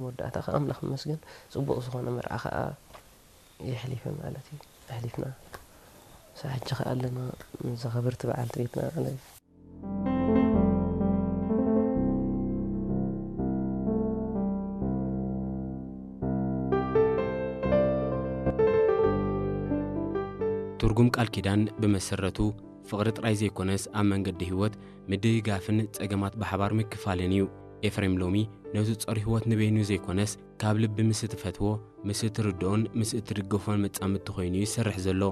መወዳእታ ከዓ ኣምላኽ ይመስገን፣ ጽቡቕ ዝኾነ መርዓ ከዓ የሕሊፈ ማለት እዩ። ኣሕሊፍና፣ ሳብ ሕጂ ከዓ ኣለና፣ ምስ ዘኸብርቲ በዓልቲ ቤትና ማለት እዩ። ትርጉም ቃል ኪዳን ብመሰረቱ ፍቕሪ ጥራይ ዘይኮነስ፣ ኣብ መንገዲ ህይወት ምድግጋፍን ጸገማት ብሓባር ምክፋልን እዩ። ኤፍሬም ሎሚ ነቲ ጾር ህይወት ንበይኑ ዘይኮነስ፣ ካብ ልቢ ምስ እትፈትዎ፣ ምስ እትርድኦን ምስ እትድግፎን መጻምድቲ ኮይኑ እዩ ዝሰርሕ ዘሎ።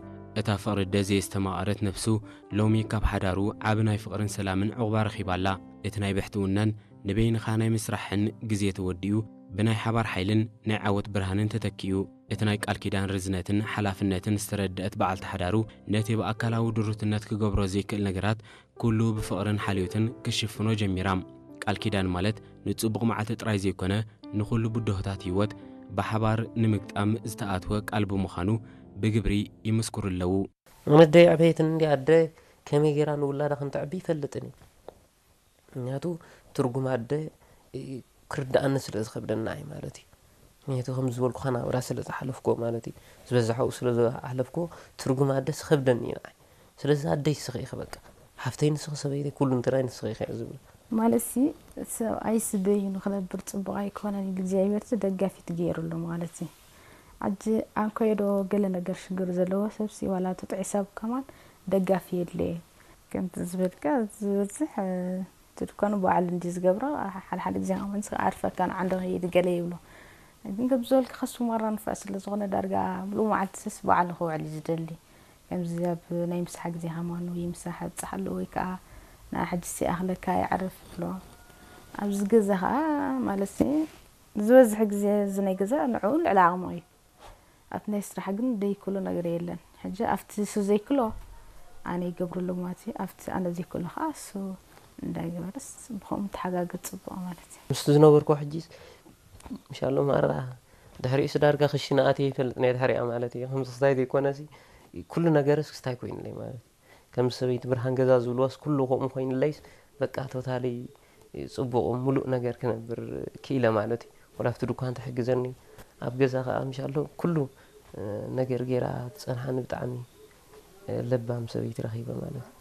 እታ ፍቕሪ ደዘየስተማቐረት ነፍሱ፣ ሎሚ ካብ ሓዳሩ ዓቢ ናይ ፍቕርን ሰላምን ዕቑባ ረኺባ ኣላ። እቲ ናይ ብሕትውናን ንበይንኻ ናይ ምስራሕን ግዜ ተወዲኡ፣ ብናይ ሓባር ሓይልን ናይ ዓወት ብርሃንን ተተኪኡ። እቲ ናይ ቃል ኪዳን ርዝነትን ሓላፍነትን ዝተረድአት በዓልቲ ሓዳሩ፣ ነቲ ብኣካላዊ ድሩትነት ክገብሮ ዘይክእል ነገራት ኩሉ ብፍቕርን ሓልዮትን ክሽፍኖ ጀሚራ። ቃል ኪዳን ማለት ንጽቡቕ መዓልቲ ጥራይ ዘይኮነ፣ ንኹሉ ብድሆታት ህይወት ብሓባር ንምግጣም ዝተኣትወ ቃል ብምዃኑ ብግብሪ ይምስክሩ ኣለዉ። ኣነደይ ዕቤትን እንዲ ኣደ ከመይ ገይራ ንውላዳ ከም ተዕቢ ይፈልጥን እዩ። ምክንያቱ ትርጉም ኣደ ክርድኣኒ ስለ ዝኸብደና እዩ ማለት እዩ። ምክንያቱ ከም ዝበልኩኻ ናብራ ስለ ዝሓለፍኮ ማለት እዩ። ዝበዛሕኡ ስለ ዝሓለፍኮ ትርጉም ኣደስ ይኸብደኒ እዩ ንዓይ። ስለዚ ኣደይ ንስኺ ኢኺ በቃ። ሓፍተይ ንስኺ፣ ሰበይተይ፣ ኩሉ እንትናይ ንስኺ ኢኺ እየ ዝብል። ማለት ሲ ሰብኣይ ስበይ ንክነብር ፅቡቅ ኣይኮነን ኢሉ እግዚኣብሔር ደጋፊት ገይሩ ኣሎ ማለት እዩ። ኣጂ ኣንኮዮ ዶ ገለ ነገር ሽግር ዘለዎ ሰብሲ ዋላ ትጥዒ ሰብ ከማን ደጋፊ የድለየ። ከምቲ ዝበልካ ዝበዝሕ እቲ ድኳኑ ባዕሉ እንዲ ዝገብሮ ሓደ ሓደ ግዜ ከማን ኣርፈካ ንዓንዶ ከይድ ገለ ይብሎ። ግን ከም ዝበልካ ከሱ ማራ ንፋዕ ስለ ዝኾነ ዳርጋ ሙሉእ መዓልቲ ሰስ ባዕሉ ክውዕል እዩ ዝደሊ። ከምዚ ኣብ ናይ ምሳሕ ግዜ ከማኑ ይምሳሕ ኣብፅሓሉ ወይ ከዓ ንዓ ሕጂ ሲኣኽለካ ይዕርፍ ይብሎ። ኣብዚ ገዛ ከዓ ማለት ዝበዝሕ ግዜ እዚ ናይ ገዛ ንዕኡ ልዕሊ ዓቕሙ እዩ። ኣብቲ ናይ ስራሕ ግን ደይክሎ ነገር የለን። ሕጂ ኣብቲ እሱ ዘይክሎ ኣነ ይገብረሉ ማለት እዩ። ኣብቲ ኣነ ዘይክሎ ከዓ እሱ እንዳገበረስ ብኸምኡ ተሓጋገዝ ፅቡቕ ማለት እዩ። ምስቲ ዝነበርኩ ሕጂ ምሻሎ ማራ ድሕሪኡስ ዳርጋ ክሽነ ኣትየ ይፈልጥ ናይ ድሕሪኣ ማለት እዩ። ከምዚ ክስታይ ዘይኮነሲ ኩሉ ነገርስ ክስታይ ኮይኑለይ ማለት እዩ። ከም ሰበይቲ ብርሃን ገዛ ዝብልዋስ ኩሉ ከምኡ ኮይኑለይስ በቃ ቶታሊ ፅቡቕ ሙሉእ ነገር ክነብር ክኢለ ማለት እዩ። ወላ ኣብቲ ድኳን ትሕግዘኒ ኣብ ገዛ ከዓ ምሻሎ ኩሉ ነገር ገይራ ትፀንሓኒ ብጣዕሚ ለባም ሰበይቲ ረኺበ ማለት እዩ።